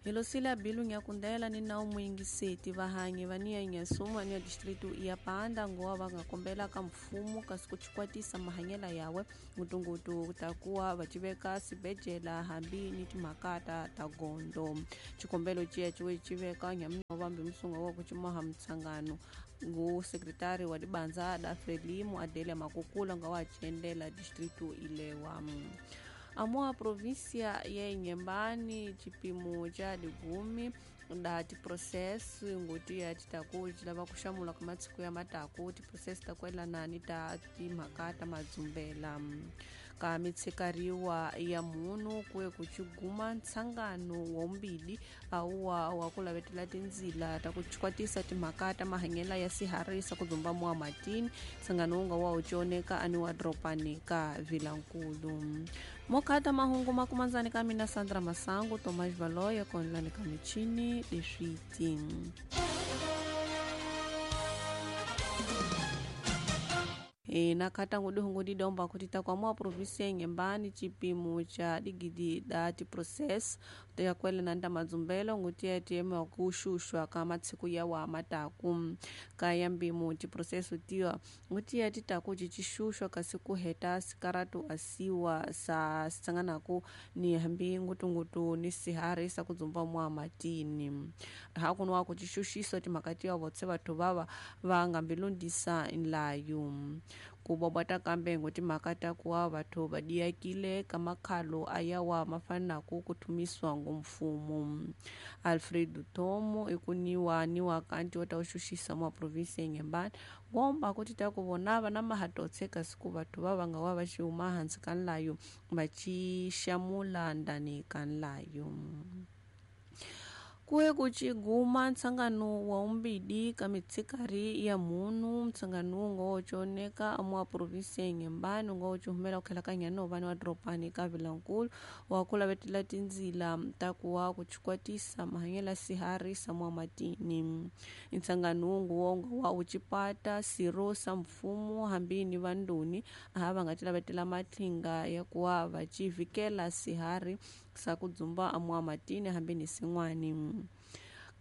Hilosila bilu nyakundela ni nawu muyingiseti vahanyi va niya Inhassum aniya distrito ya Panda ngowa va nga kombela ka mfumo kasi ku chikwatisa mahanyela yawe ngutungutu takuwa va civeka sibejela hambi ni timhaka ta gondo. Xikombelo ciya ciwe civeka nyamina vambi musunga wa ku cimaha mutshangano ngu sekretari wa dibanza da Frelimo Adelia Makukula nga wa ciendela distrito ilewa. Amoa província ya Inhambane chipimo cha digumi da tiprocesso ngoti ya titaku lava ku xamula ka matshiku ya mataku tiprocesso ta kwelana ni ta timhaka ta madzumbela ka mitshikariwa ya munhu kuye ku chiguma ntshangano wa mbili awuwa wa ku lavetela tindzila ta ku chikwatisa timhaka ta mahanyela ya siharisa ku dzumba muwa matini ntshangano wu nga wa wu cioneka ani wa dropani ka Vilankulu. Mokhata mahungu makumanzani ka mina Sandra Masangu Tomás Valoya konlani ka michini leswiti. Na khata ngudihungu didomba kuti takwamua província ya Inhambane chipimo cha digidi da tiprocesso ya kwelana nta madzumbelo nguti ya tiema kuxuxwa ka matshiku ya wa mataku ka ya mbimo tiprocesso tiwa nguti ya titaku cicixuxwa kasi ku heta sikaratu asiwa sa sitsanganaku ni hambi ngutungutu ni sihari sa ku dzumba mwa matini hakuno ku cixuxiso timhaka tiwa votse vathu vava va nga mbilundisa nlayo ku bobota kambe ngotimhaka ta kuwa vathu va diyakile ka makhalo ayawa ma fanaku ku thumiswa ngomfumo. Alfredo Tomo ikuniwa niwa kanti wa ta uxuxisa mwa província ya Inhambane ngomba kuti ta ku vona va na mahatotse kasi ku vathu va va nga wa va xi huma hansi ka nlayo va ci xamula ndani ka nlayo. Kuye ku ciguma ntshangano wa umbidi ka mitshikari ya munhu ntshangano wu nga wo cioneka amuwa província ya Inhambane wu nga wo cihumela ku tlhela ka nyanovani wa dropani ka Vilankulu wa ku lavetela tindzila ta ku wa ku chikwatisa mahanyela sihari sa mwa matini. Ntshangano wu nga wo nga wa wu cipata siro sa mfumo hambi ni vandoni aha va nga ti lavetela matlinga ya ku wa va civikela sihari sa ku dzumba amuwa matini hambi ni sin'wani.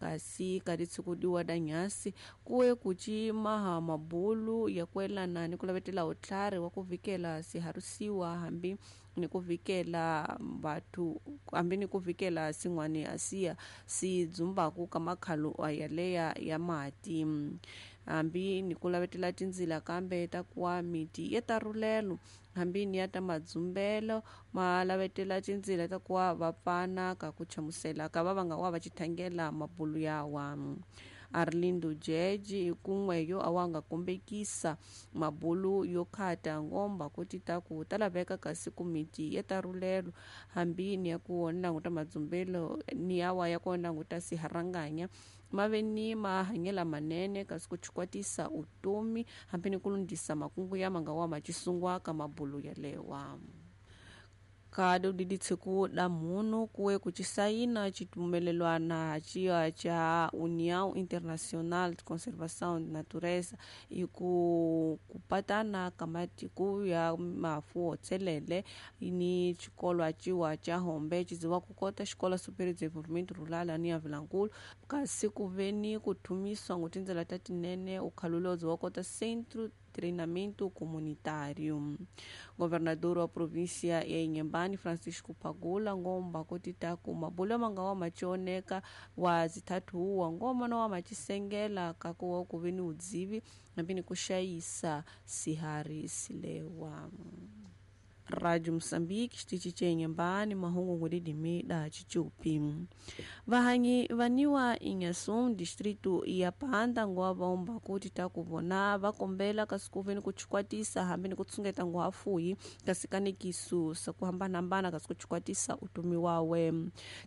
Kasi ka titshukudiwa da nyasi kuye ku cimaha mabulu ya kwelana ni ku lavetela utlhari wa ku vikela siharusiwa hambi ni ku vikela vathu hambi ni ku vikela sin'wani asiya si dzumbaku ka makhalo yaleya ya mati hambi ni ku lavetela tindzila kambe ta kuwa miti ya tarulelo hambi ni ya ta madzumbelo ma lavetela tindzila ta kuwa va pfana ka ku chamusela ka va va nga wa va chithangela mabulu yawa. Arlindo Jeje kun'we yo awa nga kombekisa mabulu yo khata ngomba kuti ta ku ta laveka kasi ku miti ya tarulelo hambi ni ya ku languta madzumbelo ni yawa ya ku languta siharanganya mave ni mahanyela manene kasi ku chikwatisa utomi hambi ni ku lundisa makungu ya manga wa macisungwa ka mabulu yalewa. Kado diditshiku da munhu kuwe ku cisayina citumelelwana ciya ca União Internacional de Conservação de Natureza i ku kupatana ka matiko ya mafu tselele ni xikolwa ciwa ca hombe ciziwa ku kota xikola Superior Desenvolvimento Rural ni ya Vilankulu kasi ku ve ni ku thumiswa ngo tindlela ta tinene ukhalulozo wa kota Centro Treinamento Comunitário. Governador wa província ya Inhambane, Francisco Pagula, ngomba kuti taku mabulu manga wa macioneka wa zithathu ngoma no wa macisengela kakuwa ku ve ni udzivi hambi ni ku xayisa sihari silewa. Rádio Moçambique, xitichi ca Inhambane, mahungu ngudidimi da chichupi. Vahanyi vaniwa Inhassum, distrito ya Panda, ngowa vaomba kuti takuvona vakombela kasi ku ve ni ku chikwatisa hambi ni ku tsungeta ngohafuyi kasi kanikisu sa ku hambanahambana kasi ku chikwatisa utumi wawe.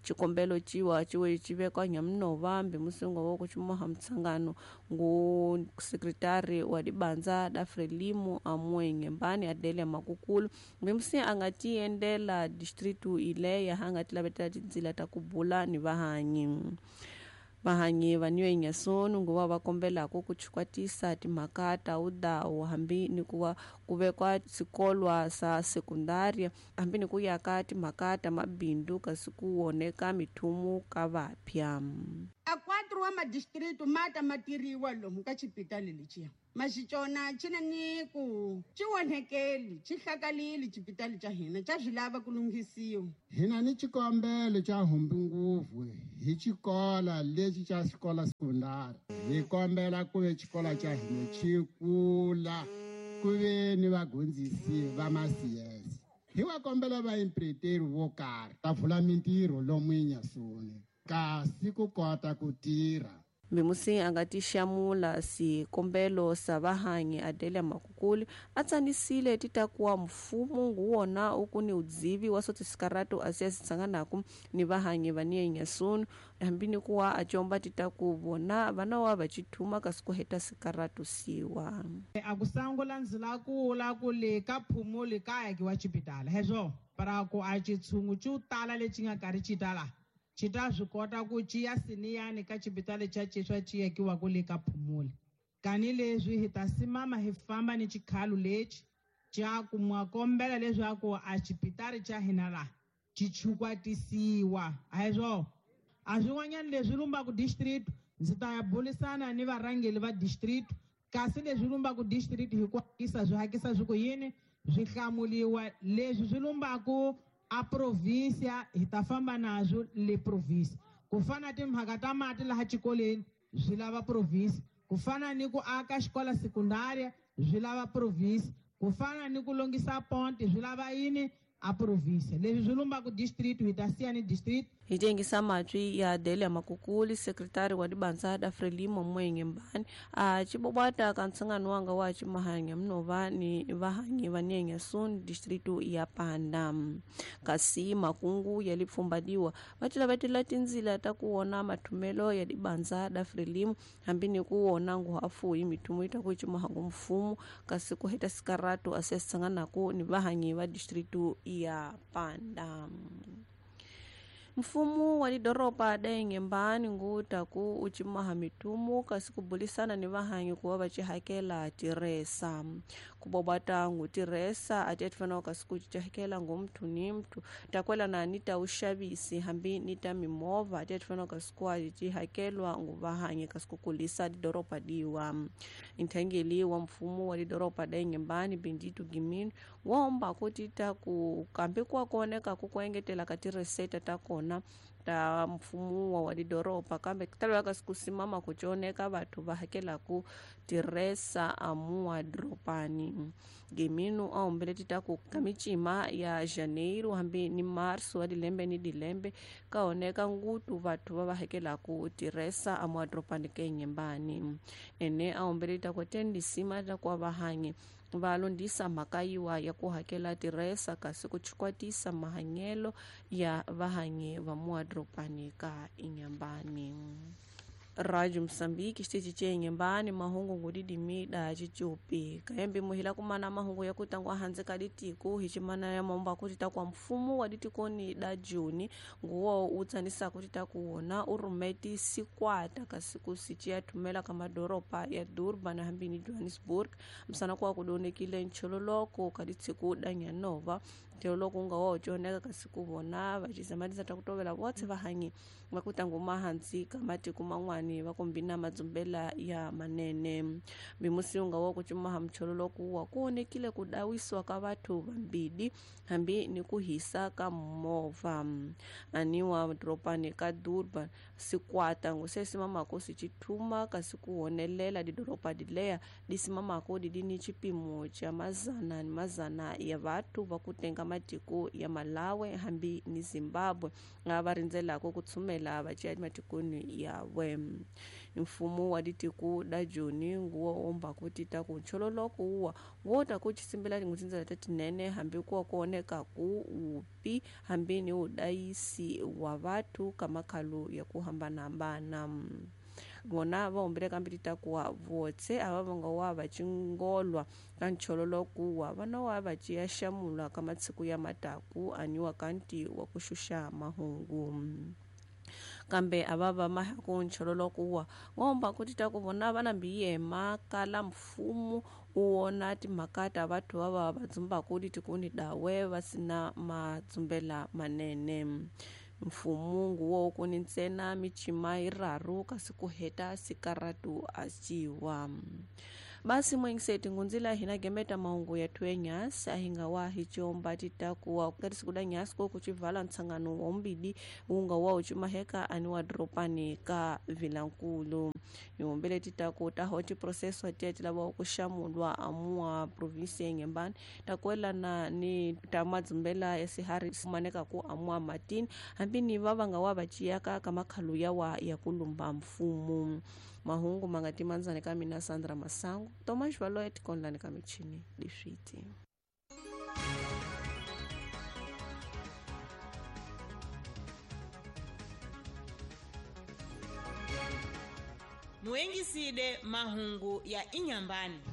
Xikombelo ciwa ciwe civekwa nyamunova mbi musingo wa ku cimaha mutshangano ngu sekretari wa dibanza da Frelimo amue Inhambane Adelia Makukulu msi a nga ti endela distrito ileya a nga ti lavetela tindzila ta ku bula ni vahanyi. Vahanyi va New Inhasunu nguva va kombelaka ku chukwatisa timhaka ta udawu hambi ni ku va ku vekwa swikolwa swa sekundaria hambi ni ku ya ka timhaka ta mabindzu kasi ku woneka mithumu ka vapya. A 4 wa madistritu ma ta ma tiriwa lomu ka xipitali lexiya maxicona xi na ni ku xi onhekeli xi hlakalile xipitali xa hina xa swi lava ku lunghisiwa. Hina ni xikombelo xa humbi ngopfu hi xikola lexi xa xikola sekundari hi kombela ku ve xikola xa hina xi kula ku ve ni vadyondzisi va ma-CS hi va kombela vaimpireteri vo karhi ta pfula mintirho lomu Inhasuni kasi ku kota ku tirha. Mbimusi a nga tixamula swikombelo swa vahanyi Adelia Makukuli a tsanisile ti ta kuwa mfumo nguwona u ku ni udzivi wa swo tisikarato a siya sitsanganaku ni vahanyi va ni Inhasunu hambi ni kuwa a comba ti ta ku vona vana wa va chithuma kasi ku heta sikarato siwa. A ku sangula ndzila kula ku le ka phumuli ka akiwa xipitala hezwo para ku a xitshungu xo tala lexi nga karhi xi tala xi ta swi kota ku ciya siniyani ka xipitali xa xiswa xi akiwaka le ka phumuli kani leswi hi ta simama hi famba ni xikhalu lexi xa ku mwa kombela leswaku a xipitali xa hina laha xi chukwatisiwa a hi swona a swin'wanyana leswi lumbaka district ndzi ta ya burisana ni varhangeri va district kasi leswi lumbaka district hi ku hakisa swi hakisa swi ku yini swi hlamuliwa leswi swi lumbaka a provinsia hi ta famba nazwo le provinsia ku fana timhaka ta mati laha xikolweni swi lava provinsia ku fana ni ku aka xikola sekundaria swi lava provinsia ku fana ni ku lunghisa ponti swi lava yini a provinsia leswi swi lumbaka district hi ta siya ni district. Hi tengisa matwi ya Adelia Makukuli sekretari wa dibandza da Frelimo Mwenye Mbani a chibobwata ka ntsangano wanga wa chimahanya mnova ni vahanyi va Inhasuni distritu ya Panda kasi makungu ya lipfumbadiwa va tilavetela tindzila ta ku wona mathumelo ya dibandza da Frelimo hambi ni ku wona nguhafu hi mithumo yi ta ku chimahangu mfumo kasi ku heta sikarato a siya sitsanganaku ni vahanyi va distritu ya Panda. Mfumo wa lidoropa da Inhambane nguta ku uchimaha mitumu kasi kubulisana ni vahanyi kuva va chihakela tiresa kubobata ngu tiresa ati atifanawo kasi ku chihakela ngu mthu ni mthu takwelana ni ta uxavisi hambi ni ta mimovha ati atifanawo kasi ku chihakelwa ngu vahanyi kasi ku kulisa lidoropa diwa. Nthangeli wa mfumo wa lidoropa da Inhambane Bendito Gimino womba ku tita ku kambe kwa kuoneka ku kuengetela ka tireseta ta kona ta mfumo wa lidoropa kambe talwa kasi kusimama kuchoneka vathu va hakelaku tiresa amuwa doropani. Geminu a humbele tita ku ka micima ya Janeiro hambi ni Marso wa dilembe ni dilembe ka oneka ngutu vathu va va hakelaku tiresa amuwa doropani ke Inhambane. Ene a humbele tita ku tendisima ta ku vahanyi va londisa mhaka yiwa ya ku hakela tiresa kasi ku chukwatisa mahanyelo ya vahanyi va muadropani ka Inhambane. Rádio Moçambique xitichi ce Inhambane mahungu ngudidimida xicupi kayembe muhila kumana mahungu ya kutangwa handze ka ditiko hi ximana ya momba ku tita kwa mfumo wa ditikoni da Juni nguwo u tsanisa ku tita ku wona u rhumeti sikwata kasi ku sici ya thumela ka madoropa ya Durban hambi ni Johannesburg msana kwa ku donekile nchololoko ka ditshiku da Nyanova loko nga wa coneka kasi ku vona va xizamatisa ta ku tovela votse vahanyi va ku tanguma hansi ka matiko man'wani va kombina madzumbela ya manene. Mimusi nga wa ku cumaha mchololoko wa ku onekile ku dawisiwa ka vathu vambili hambi ni ku hisa ka movha aniwa doropani ka Durban sikwata nguse simamako sichithuma kasi ku honelela didoropa dileya disimamako didini chipimo cha mazana ni mazana ya vathu va ku tenga matiko ya Malawi hambi ni Zimbabwe nga va rindzelaka ku tshumela va ciya matikweni yawe. Mfumo wa ditiko da Joni nguwo omba ku tita ku nchololoko wa wo ta ku chisimbela tin'we ta tinene hambi ku kuoneka ku upi hambi ni udayisi wa vathu ka makhalo ya ku hambanahambana. Vona va humbele kambe titakuwa votse ava va nga wa va chingolwa ka nchololoko wa vana wa va ciya xamula ka matshiku ya mataku aniwa kanti wa ku xuxa mahungu. Kambe a va va mahaku nchololo kuwa ngomba kuti ta ku vona va na mbiyema kala mfumo u wona timhaka ta vathu va va va dzumbaku litikuni dawe va sina madzumbela manene. Mfumo nguwo kuni ntsena michima yiraru kasi ku heta sikaratu a ciwa. Basi mwengiseti ngunzila hina gemeta mahungu ya thuwe nyasi ahinga wa hichomba titakuwa katisi nyasi ko kuchivala ntsangano wa umbidi unga wa uchimaheka ani wa dropani ka vilankulu. Yombele titaku taho tiproseso atiya tilava kushamulwa amua provinsi ya Inhambane takuelana ni tamadzumbela ya sihari maneka ku amua matini hambi ni vavanga wa vaciyaka ka makhalu yawa ya kulumba mfumo. Mahungu mangatimanzane ka mina Sandra Masangu Tomas Valoet konlani ka michini liswiti. Muengiside mahungu ya Inhambane.